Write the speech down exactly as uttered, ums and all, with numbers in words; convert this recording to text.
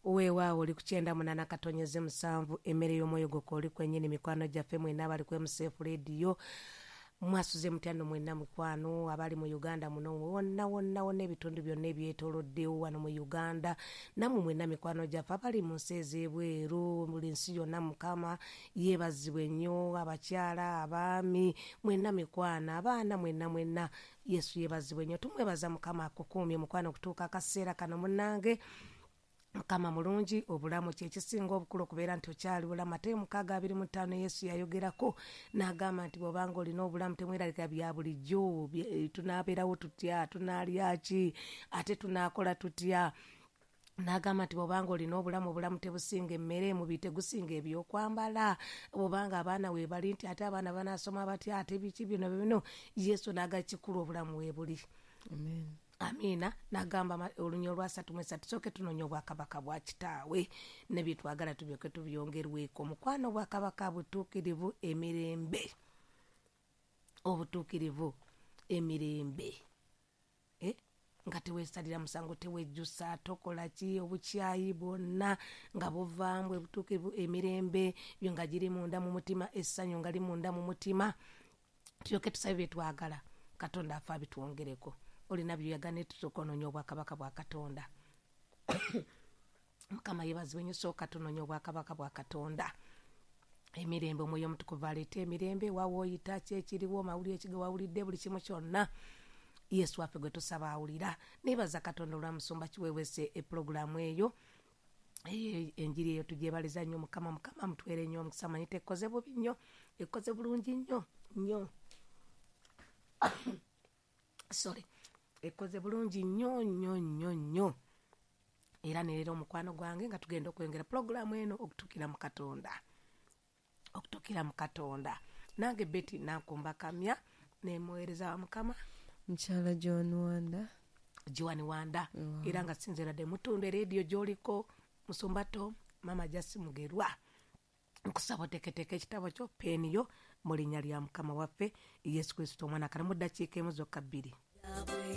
Weewaawo oli ku kyenda munaana katonyeze musanvu, emmere y'omwoyo gwo kwoli kwennyini. Mikwano gyaffe mwenna abali ku M C F Radio, mwasuze mutya nno mwenna mikwano abali mu Uganda muno wonna wonna wonna, ebitundu byonna ebyetooloddewo wano mu Uganda, nammwe mwenna mikwano gyaffe abali mu nsi ez'ebweru, buli nsi yonna, Mukama yeebazibwe nnyo. Abakyala, abaami, mwenna mikwano, abaana, mwenna mwenna, Yesu yeebazibwe nnyo. Tumwebaza Mukama akukuumye mukwano okutuuka akaseera kano. Munnange, Mukama mulungi. Obulamu kyekisinga obukulu, okubeera nti okyali bulamu. Ate mukaaga abiri mu ttaano, Yesu yayogerako n'agamba nti bw'obanga olina obulamu, temweralika bya bulijjo, bye- tunaabeerawo tutya, tunaalya ki, ate tunaakola tutya. N'agamba nti bw'obanga olina obulamu, obulamu tebusinga emmere, mubiri tegusinga ebyokwambala. Bw'obanga abaana weebali, nti ate abaana banaasoma batya, ate biki bino bino. Yesu n'aga kikulu obulamu weebuli. Amen. Amiina. N'agamba ma- olunya olwasatu mu esatu, tusooke tunoonya obwakabaka bwa kitaawe, ne byetwagala tubyoke tubyongerweko. Mukwano, obwakabaka butuukirivu, emirembe, obutuukirivu, emirembe. Eh? Nga teweesalira musango, tewejjusa, tokola ki, obukyayi bwonna nga buvaamu. Obutuukirivu, emirembe byo nga giri munda mu mutima, essanyu nga li munda mu mutima. Tulyoke tusabe byetwagala, Katonda afe abitwongereko. Olina byoyagala, tusooka onoonya obwakabaka bwa Katonda. Mukama yebazibwe nnyo. Sooka tunoonya obwakabaka bwa Katonda, emirembe. Omwoyo Omutukuvu aleeta emirembe. Wawa oyita ki ekiriwo, mawulire ekige wawulidde, buli kimu kyonna, Yesu waffe gwe tusaba awulira. Nebaza Katonda olwa musumba Kiwewese, epulogulaamu eyo eyo, enjiri eyo, tugyebaliza nnyo Mukama. Mukama mutwere nnyo omukisa. Manyi tekoze bubi nnyo, ekoze bulungi nnyo nnyo, sorry, ekoze bulungi nnyo nnyo nnyo nnyo. Era neera omukwano gwange nga tugenda okwongera pulogulaamu eno okutuukira mu Katonda, okutuukira mu Katonda. Nange Betty Nankumba Kamya, nemuweereza wa Mukama Mukyala John Wanda. Joan Wanda. Era nga sinzeradde mutundu erediyo gyoliko, musumba Tom, Mama Jasi Mugerwa, nkusaba oteeketeeka ekitabo kyo, peeni yo, mu linnya lya Mukama waffe Yesu Kristo omwana. Kale mu ddakiika emu zokka, bbiri.